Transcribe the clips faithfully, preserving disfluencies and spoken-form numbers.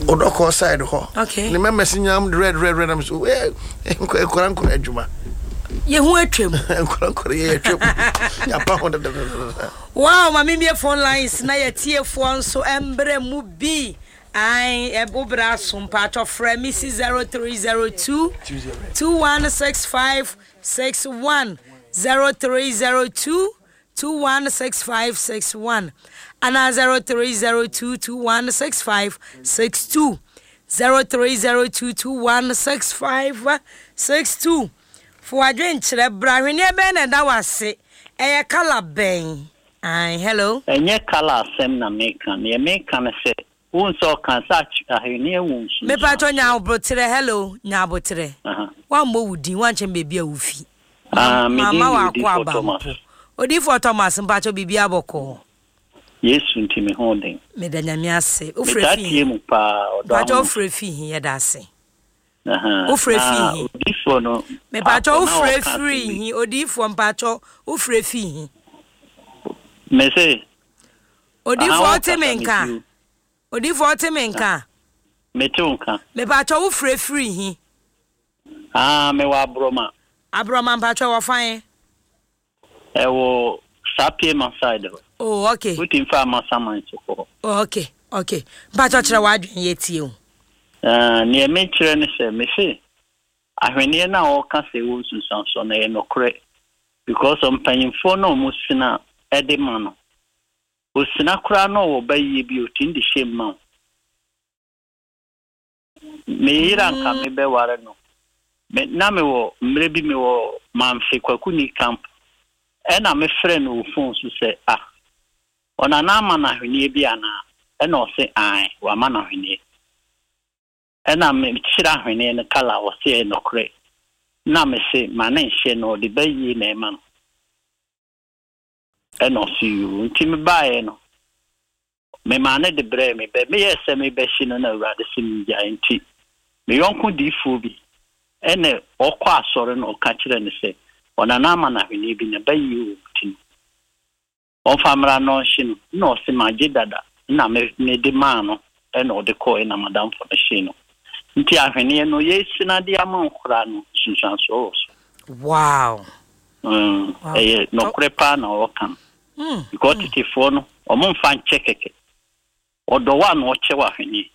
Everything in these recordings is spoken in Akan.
Odɔkɔ side hɔ. Okay. Ne mɛmɛ si nyam red red red, am so eh, nkɔla nkɔla adwuma. Yɛho atwam. Nkɔla nkɔla yɛ atwam, yapa ho dadadada. Wow, ma membie phone lines na yɛtiefoɔ nso mbrɛ mu bi. Ai, wobrɛ aso, mpaatɔ frɛ me si zero three zero two two one six five six one, zero three zero two two one six five six one anaa zero three zero two two one six five six two, zero three zero two two one six five six two. Fo adwenkyerɛ bra. Ahwenneɛ bɛn na ɛda wase? Ɛyɛ colour bɛn? Ai, hello. Ɛnyɛ colour asɛm na meka. Neɛ meka no sɛ wohu sɛ ɔka sɛ ahwenneɛ wɔ nsunsuansoɔ. Mepatɔ, nya aboterɛ. Hello, nya aboterɛ. Woammɔ wo din, woankyɛn baabi a wofi. Ah, me din mama de wakɔ Odiyifoɔ aba Thomas. mpo. Odiyifoɔ Thomas, mpakyɛ, biribi abɔkɔɔ? Yesu nti me ho den. Meda Nyame ase. Wofrɛ metaa fi tie he? Mu paa, ɔdɔ Mpakyɛ, ahoma. wofrɛ fi he? Yɛda ase. Aha. Wofrɛ Na fi he? odiyifoɔ no Mepakyɛ, pastor na wofrɛ ɔka asɛm firi bi. he? Odiyifoɔ, mpakyɛ, wofrɛ fi he? Me se Odiyifoɔ, aha, wote me wokasa nka? metie wo. Odiyifoɔ, wote me nka? Mete wo nka. Mepakyɛ, wofrɛ firi he? Ah, mewɔ Aborɔma. Aborɔma, mpakyɛ, wɔfa Ɛwɔ Sapiema side hɔ. Oh, okay. Wotumi fa Amasaman so kɔ hɔ. Oh, okay okay mpakyɛ, kyerɛ w'adwene, yɛtie o. Ah, neɛ mekyerɛ ne sɛ, me se ahwenneɛ no a ɔka sɛ ɛwɔ nsunsuansoɔ no, ɛyɛ nokorɛ, because mpanyimfoɔ no a ɔmo sina ɛde ma no, osina koraa na ɔwɔ ba yie bi, otumi de hyɛ mu ma wo. Me yere anka mebɛware no, me na mewɔ mmerɛ bi, mewɔ Mamfe Kwakuni camp, ɛna mefrɛ no wɔ phone so sɛ, ah, ɔnana ama no ahwenneɛ bi anaa? Ɛna ɔse ae, wama no ahwenneɛ. Ɛna mekyerɛ ahwenneɛ no colour, ɔse ɛyɛ nokorɛ. Na mese ma ne nhyɛ no, ɔde bɛyie na ɛma no. Ɛna ɔse yoo. Nti mebaeɛ no, memaa ne de brɛɛ me bɛ meyɛɛ sɛ mebɛhye no, na Awurade sɛ mengyae. Nti me yɔnko diifoɔ bi ɛna ɔkɔ asɔre no, ɔka kyerɛ no sɛ ɔnana ama no ahwenneɛ bi na bɛyie wɔ mu, ti no ɔmfa mmra na ɔnhye no. Na ɔse magye dada, na me mede maa no, ɛna ɔde kɔɔ, ɛna madamfo no hyee no. Nti ahwenneɛ no, yɛsina de ama wo koraa no, nsunsuansoɔ wɔ so. wow Mm, Wow. Ɛyɛ nɔkorɛ paa na ɔka no, mm. because tetefoɔ no, ɔmo mfa nkyɛ kɛkɛ. Ɔdɔ wo a na ɔkyɛ wɔ ahwenneɛ.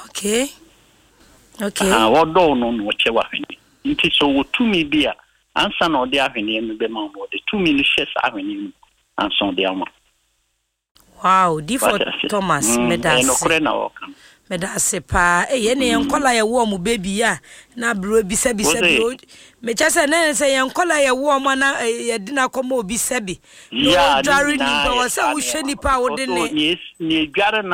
okay okay Ah, wɔdɔ wo no na ɔkyɛ wɔ ahwenneɛ. Nti sɛ ɔwɔ tumi bi a, ansa na ɔde ahwenneɛ no bɛma wo no, ɔde tumi no hyɛ saa ahwenneɛ no mu ansa ɔde ama wo. Wow, Difo Wate ase? Thomas, Mm, meda ɛyɛ ase. nokorɛ na ɔka no. Meda ase paa. Ɛyɛ ne yɛn nkɔla yɛwɔ ɔmo baby a na aburo bisabisa bi. Wose? Mekyɛ sɛ ne sɛ yɛn nkɔla yɛwɔ ɔmo ana eh, yɛde no akɔma obi sɛbi na Ya, ne ɔdware nyinaa nipa yɛ wɔ sɛ saa wohwɛ nneɛma nipa a no. wode Because ne nea nea edware na